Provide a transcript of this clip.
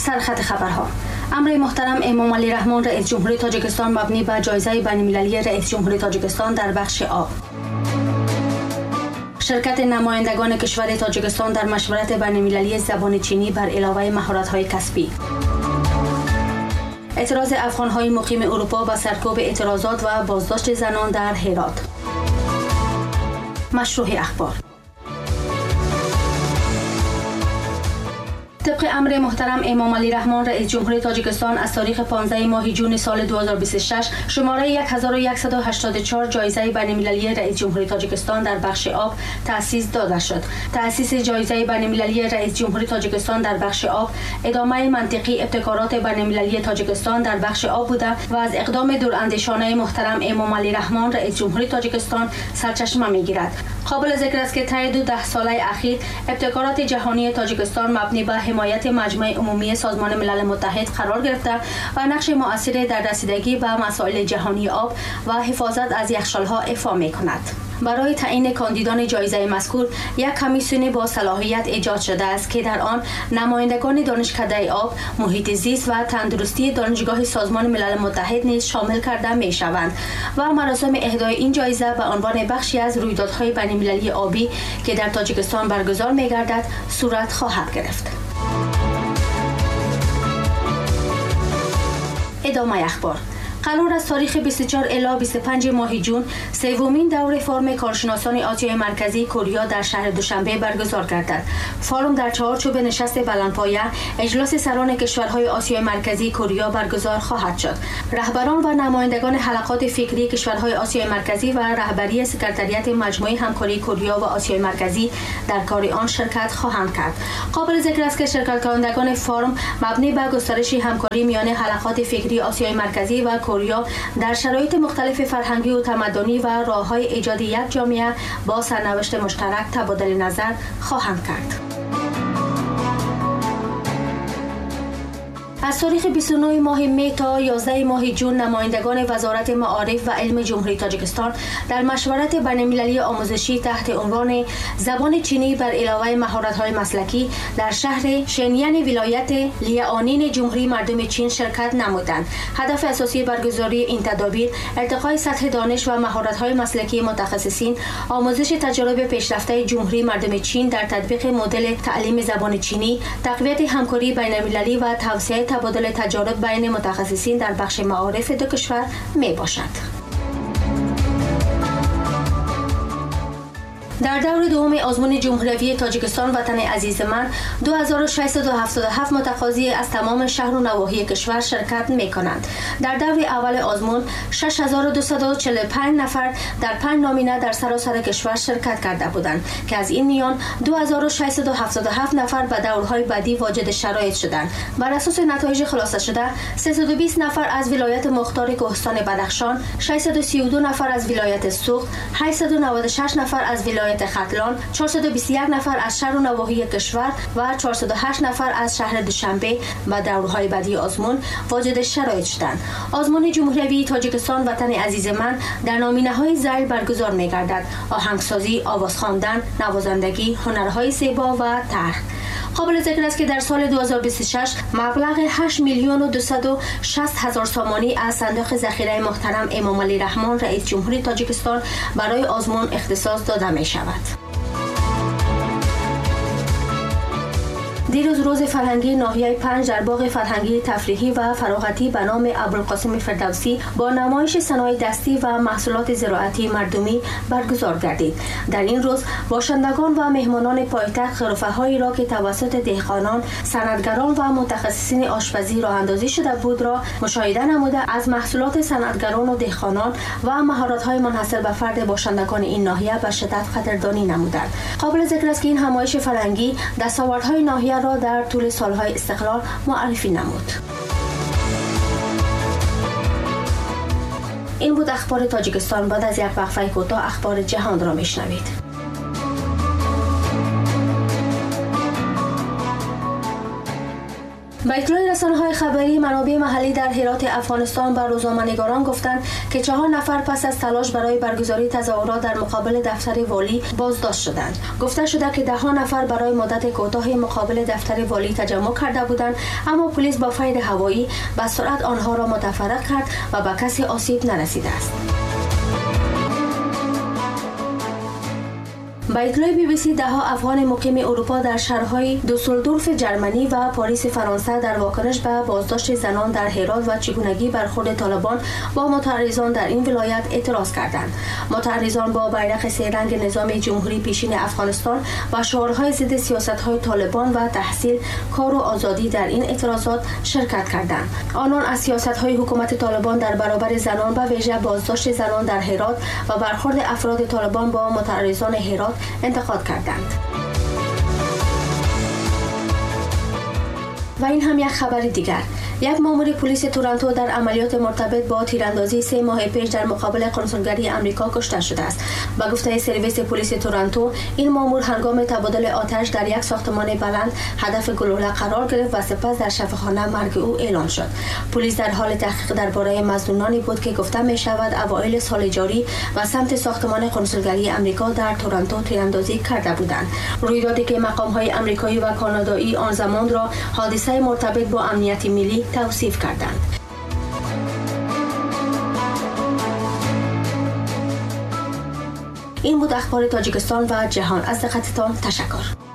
سرخط خبرها: امر محترم امام علی رحمان رئیس جمهوری تاجیکستان مبنی بر جایزه بین‌المللی رئیس جمهوری تاجیکستان در بخش آب. شرکت نمایندگان کشور تاجیکستان در مشورت بین‌المللی زبان چینی بر علاوه مهارت‌های کسبی. اعتراض افغان‌های مقیم اروپا به سرکوب اعتراضات و بازداشت زنان در هرات. مشروح اخبار. طبق امر محترم امام علی رحمان رئیس جمهوری تاجیکستان از تاریخ 15 ماه جون سال 2026 شماره 1184 جایزه بین‌المللی رئیس جمهوری تاجیکستان در بخش آب تأسیس داده شد. تأسیس جایزه بین‌المللی رئیس جمهوری تاجیکستان در بخش آب ادامه منطقی ابتکارات بین‌المللی تاجیکستان در بخش آب بوده و از اقدام دوراندیشانه محترم امام علی رحمان رئیس جمهوری تاجیکستان سرچشمه می‌گیرد. قابل ذکر است که طی 12 ساله اخیر ابتکارات جهانی تاجیکستان مبنی بر حمایت مجمع عمومی سازمان ملل متحد قرار گرفته و نقش مؤثری در رسیدگی به مسائل جهانی آب و حفاظت از یخچال‌ها ایفا می‌کند. برای تعیین کاندیدان جایزه مذکور یک کمیسیون با صلاحیت ایجاد شده است که در آن نمایندگان دانشکده آب، محیط زیست و تندرستی دانشگاه سازمان ملل متحد نیز شامل کرده می شوند و مراسم اهدای این جایزه به عنوان بخشی از رویدادهای بین‌المللی آبی که در تاجیکستان برگزار می گردد صورت خواهد گرفت. ادامه اخبار. قرار است تاریخ 24 الی 25 ماه جون سومین دور فارم کارشناسان آسیای مرکزی کوریا در شهر دوشنبه برگزار گردد. فارم در چارچوب نشست بلندپایه اجلاس سران کشورهای آسیای مرکزی کوریا برگزار خواهد شد. رهبران و نمایندگان حلقات فکری کشورهای آسیای مرکزی و رهبری سکرتریت مجموعه همکاری کوریا و آسیای مرکزی در کار آن شرکت خواهند کرد. قابل ذکر است که شرکت کنندگان فارم مبنی بر گسترش همکاری میان حلقات فکری آسیای مرکزی و کوریا در شرایط مختلف فرهنگی و تمدنی و راه‌های ایجاد یک جامعه با سرنوشت مشترک تبادل نظر خواهند کرد. از تاریخ 29 ماه می تا 11 ماه جون نمایندگان وزارت معارف و علم جمهوری تاجیکستان در مشورت بین‌المللی آموزشی تحت عنوان زبان چینی بر علاوه مهارت‌های مسلکی در شهر شنیان ولایت لیانین جمهوری مردم چین شرکت نمودند. هدف اساسی برگزاری این تدابیر ارتقای سطح دانش و مهارت‌های مسلکی متخصصین، آموزش تجارب پیشرفته جمهوری مردم چین در تطبیق مدل تعلیم زبان چینی، تقویت همکاری بین‌المللی و توسعه تبادل تجارب بین متخصصین در بخش معارف دو کشور می باشد. در دور دوم آزمون جمهوری تاجیکستان وطن عزیز من 2677 متقاضی از تمام شهر و نواحی کشور شرکت می کنند. در دور اول آزمون 6245 نفر در 5 نامینه در سراسر کشور شرکت کرده بودند که از این میان 2677 نفر به دورهای بعدی واجد شرایط شدند. بر اساس نتایج خلاصه شده 320 نفر از ولایت مختار کوهستان بدخشان، 632 نفر از ولایت سوخت، 896 نفر از ولایت ختلان، 421 نفر از شهر و نواحی کشور و 408 نفر از شهر دوشنبه و دورهای بعدی آزمون واجد شرایط شدند. آزمون جمهوری تاجیکستان وطن عزیز من در نامینه‌های ذیل برگزار می‌گردد: آهنگسازی، آواز خواندن، نوازندگی، هنرهای زیبا و طرح. قابل ذکر است که در سال 2026 مبلغ 8,260,000 سامانی از صندوق ذخیره محترم امام علی رحمان رئیس جمهوری تاجیکستان برای آزمون اختصاص داده می شود. دیروز روز فرهنگی ناحیه 5 در باغ فرهنگی تفریحی و فراغتی به نام ابوالقاسم فردوسی با نمایش صنایع دستی و محصولات زراعتی مردمی برگزار گردید. در این روز باشندگان و مهمانان پایتخت غرفه‌هایی را که توسط دهقانان، صنعتگران و متخصصین آشپزی راه اندازی شده بود را مشاهده نموده از محصولات صنعتگران و دهقانان و مهارت‌های منحصر به فرد باشندگان این ناحیه به شدت قدردانی نمودند. قابل ذکر است که این همایش فرهنگی دستاوردهای ناحیه را در طول سالهای استقلال معرفی نمود. این بود اخبار تاجیکستان. بعد از یک وقفه کوتاه اخبار جهان را میشنوید. Ба иттилои расонаҳои хабарӣ, манобеи маҳаллӣ дар Ҳироти Афғонистон ба рӯзноманигорон гуфтанд, ки 4 нафар пас аз талош барои баргузории тазоҳурот дар муқобили дафтари волӣ боздошт шуданд. Гуфта шуда, ки даҳҳо нафар барои муддати кӯтоҳи муқобили дафтари волӣ таҷаммуъ карда буданд, аммо полис бо файри ҳавоӣ ба суръат онҳоро мутафарриқ кард ва ба касе осиб нарасидааст. Ба иттилои Би-би-си, даҳҳо афғони муқими Аврупо дар шаҳрҳои Дюссельдорфи Ҷерманӣ ва Париси Фаронса дар вокуниш ба боздошти занон дар Ҳирот ва чигунагии бархӯрди Толибон бо мутаарризон дар ин вилоят эътироз карданд. Мутаарризон бо байрақи серанги низоми ҷумҳурии пешини Афғонистон ва шиорҳои зидди сиёсатҳои Толибон ва таҳсил, кор ва озодӣ дар ин эътирозот ширкат карданд. Онон аз сиёсатҳои ҳукумати Толибон дар баробари занон, ба вижа боздошти занон дар Ҳирот ва бархӯрди афроди Толибон бо мутаарризони Ҳирот انتقاد کردند. و این هم یک خبر دیگر. یک مامور پلیس تورنتو در عملیات مرتبط با تیراندازی 3 ماه پیش در مقابل کنسولگری امریکا کشته شده است. با گفته سرویس پلیس تورنتو، این مامور هنگام تبادل آتش در یک ساختمان بلند هدف گلوله قرار گرفت و سپس در شفاخانه مرگ او اعلام شد. پلیس در حال تحقیق درباره مظنونانی بود که گفته می شود اوایل سال جاری و سمت ساختمان کنسولگری امریکا در تورنتو تیراندازی کرده بودند. رویدادی که مقام‌های امریکایی و کانادایی آن زمان را حادثه مرتبط با امنیت ملی توصیف کردند. این بود اخبار تاجیکستان و جهان. از دقتتان تشکر.